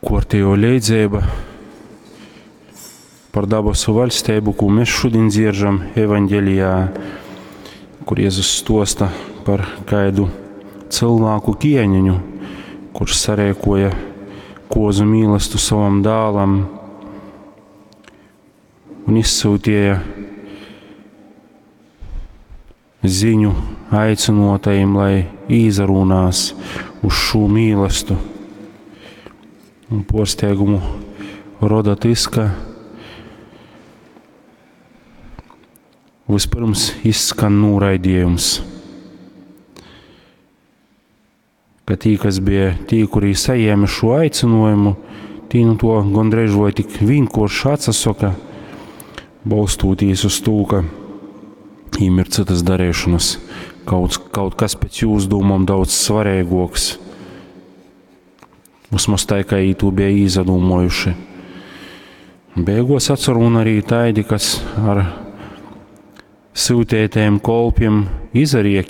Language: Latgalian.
Kuortejuo leidzeiba par dabasu vaļsteibu, kū mēs šodien dzieržam evaņgelijā, kur Jēzus stuosta par kaidu cilvēku ķieniņu, kurš sareikoja kozu mīlestu savam dālam un izsūtīja ziņu aicinotajiem, lai īzarūnās uz šo mīlestu. Un porsteigumu roda tas, ka vispirms izskan noraidījums. Ka tī, kas bija tī, kuri saņēma šo aicinājumu, tī nu to gondreiž vai tik vienkārši atsasoka, balstoties uz to, ka viņiem ir citas darīšanas, kaut, kaut kas pēc jūsu dūmām daudz svarīgāks. Vismaz tā, kā viņi to bija izdomājuši. Beigās atcerun arī taidi, kas ar sūtētējiem kolpiem izariekinoja.